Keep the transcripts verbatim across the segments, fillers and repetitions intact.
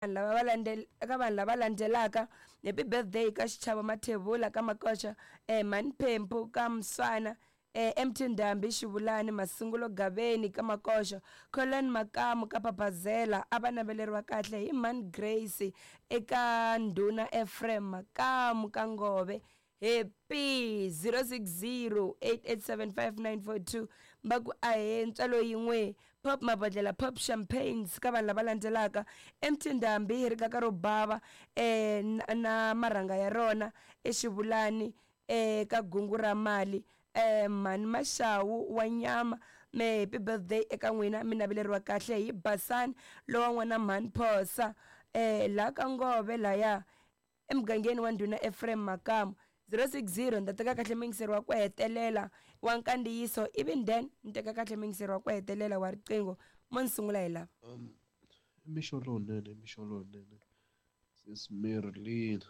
Vanhu lava va landzela eka vanhu lava landzelaka happy birthday ka Xichavo Mathebula ka Makoxa eh Mhani Phempu ka Mswana eh M T Ndhambi Xivulani Masungulo Gaveni ka Makoxa Colin Makamu ka Papazela a va naveleriwa kahle hi Mhani Grace eka Ndhuna Ephraim Makamu ka Ngove. Happy zero six zero eight eight seven five nine four two va ku ahee ntswalo yin'we pop mabodlela pop champagnes ka vanhu lava landzelaka M T Ndhambi rikaka ro bava eh na, na marhanga ya rona eXivulani eh ka gungu ra mali eh Mhani Maxawu wa nyama me happy birthday eka n'wina mi naveleriwa kahle hi Basani lowa n'wana Mhani Phosa eh la ka Ngove laya emugangeni wa Ndhuna Ephraim Makamu. zero six zero ni ta teka kahle muyingiseri wa ku hetelela wa nkandziyiso ivi then ni teka kahle muyingiseri wa ku hetelela wa riqingho mo ni sungula hi lava. Um, i mixo lowunene, i mixo lowunene sis Marilyn.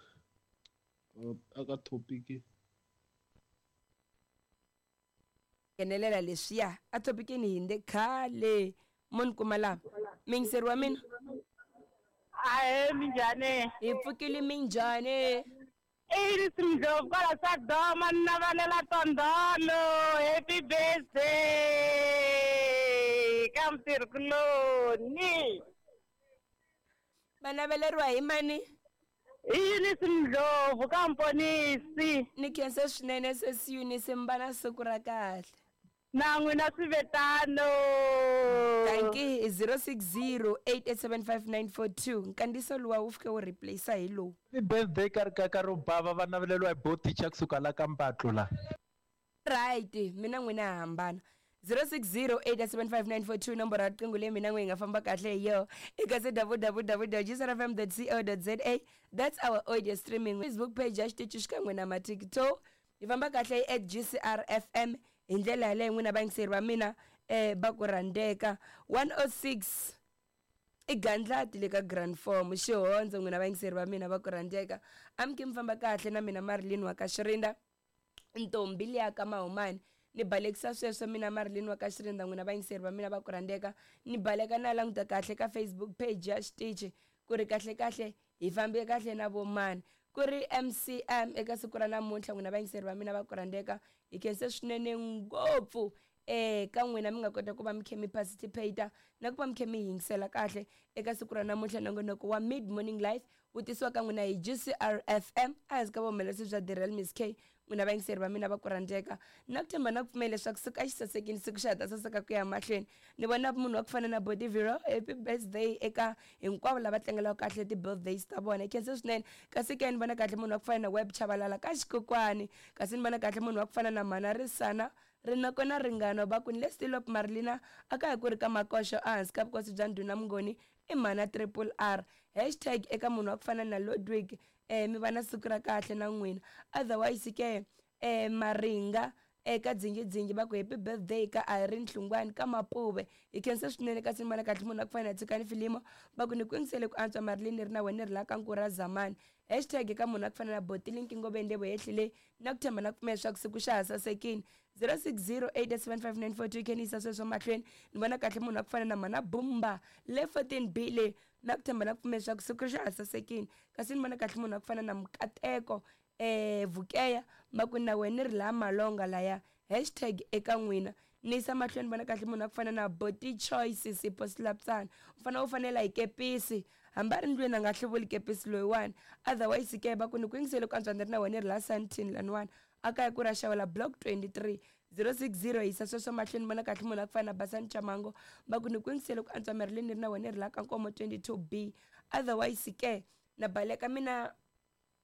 Uh, aka topic nghenelela leswiya a topikini hinde khale mo ni kuma lava muyingiseri wa mina. Ahe, minjhani? Hi pfukile, minjhani? Iris Ndlovu kwala Sadoma ni navalela tondolo happy birthday ka mutirhikuloni. Va naveleriwa hi mani? Hi Eunice Ndlovu ka Mponisi. Ni khensa swinene sesi Eunice, mi va na siku ra kahle. Na n'wina swivetano. Dankie. zero six zero eight eight seven five nine four two nkandziyiso luwa wu fike wu replace hi lowu. Happy birthday ka rikaka ro bava va naveleriwa hi bo teacher kusuka la ka Mpatlo la. Right, mina n'wina ha hambana. zero six zero eight seven five nine four two nomboro ya riqingho leyi mina n'we hi nga famba kahle hi yo eka se W W W G C R F M co za. That's our audio streaming Facebook page ya xitichi xikan'we na maTikTok hi famba kahle hi at G C R F M hi ndlela yaleyo n'wina vayingiseri va mina um va ku rhandzeka. one oh six i gandlati le ka grand form xihondzo n'wina vayingiseri va mina va ku rhandzeka amke mi famba kahle na mina Marilyn wa ka Xirinda ntombi liya ka Mahumani ni balekisa sweswo mina Marilyn wa ka Xirinda n'wina vayingiseri va mina va ku rhandzeka ni baleka na languta kahle ka Facebook page ya xitichi ku ri kahle kahle hi fambe kahle na vomani ku ri M C M eka siku ra namuntlha n'wina vayingiseri va mina va ku rhandzeka hi khense swinene ngopfu eh ka n'wina mi nga kota ku va mi khe mi participate na ku va mi khe mi yingisela kahle eka siku ra namuntlha nongonoko wa Mid Morning Life wu tisiwa ka n'wina hi G C R F M ehansi ka vuhumelerisi bya The Real Miss K. N'wina vayingiseri va mina va ku rhandzeka na ku tshemba na ku pfumela leswaku siku a xi sasekile siku xa ha ta saseka ku ya mahlweni ni vona munhu wa ku fana na Body Vero happy birthday eka hinkwavo lava tlangelaka kahle ti-birthdays ta vona hi khense swinene kasi ke ni vona kahle munhu wa ku fana na Web Chavalala ka Xikokwani kasi ni vona kahle munhu wa ku fana na Mhana Risana rinoko na ringano va ku ni le Stilop Marilina a ka hi ku ri ka Makoxo ehansi ka vukosi bya Ndhuna Mungoni i Mhana Triple R hashtag eka munhu wa ku fana na Ludwig eh mi va na siku ra kahle na n'wina otherwise ke eh Maringa eka Dzingidzingi va ku happy birthday ka Irene Hlungwani ka Mapuve hi khensa swinene kasi ni vona kahle munhu wa ku fana na Tshikani Filimo va ku ni ku yingisele ku antswa Marilyn ri na wena ri la ka Nkura Zamani hashtag eka munhu wa ku fana na Botilinki Ngobeni Lebo yehlile na ku tshemba na ku pfumela leswaku siku xa ha sasekile zero six zero eight seven five nine four two khe ni yisa sweswo mahlweni ni vona kahle munhu wa ku fana na Mhana Bumba le fourteen B le na ku tshemba na ku pfumela leswaku siku xa ha sasekile kasi ni vona kahle munhu wa ku fana na Mukateko eh Vukeya va ku na wena ri laha Malonga laya hashtag eka n'wina ni yisa mahlweni vona kahle munhu wa ku fana na Boti Choice Sipho Silapsana u fanele u fanela hi kepisi hambi a ri ndlwini a nga hluvuli kepisi loyiwani otherwise ke va ku ni ku yingisele ku antswa ni ri na wena ri laha Sandton laniwani a kaya ku ra xawela block twenty-three zero six zero yisa sweswo mahlweni vona kahle munhu a ku fana na Basani Chamango va ku ni ku yingisele ku antswa Marilyn ni ri na wena ri laha ka Nkomo twenty-two B otherwise ke na baleka mina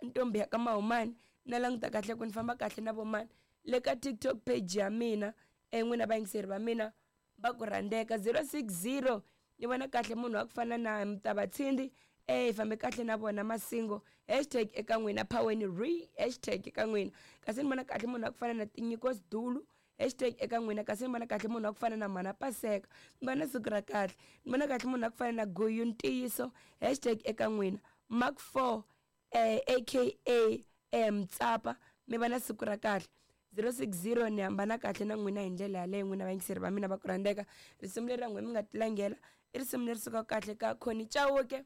ntombi ya ka Mahumani na languta kahle ku ni famba kahle na vomani le ka TikTok page ya mina e n'wina vayingiseri va mina va ku rhandzeka zero six zero ni vona kahle munhu wa ku fana na Mtavatshindi eh hi fambe kahle na vona Masingo hashtag eka n'wina Phaweni re hashtag eka n'wina kasi ni vona kahle munhu wa ku fana na Tinyiko Sidulu hashtag eka n'wina kasi ni vona kahle munhu wa ku fana na Mhana Paseka ni vona siku ra kahle ni vona kahle munhu wa ku fana na Guyu Ntiyiso hashtag eka n'wina Mark four eh, aka eh, Mtsapa mi va na siku ra kahle zero six zero ni hambana kahle na n'wina hi ndlela yaleyo n'wina vayingiseri va mina va ku rhandzeka risimu leri ra n'wina mi nga tilangela i risimu leri sukaka kahle ka Connie Chauke.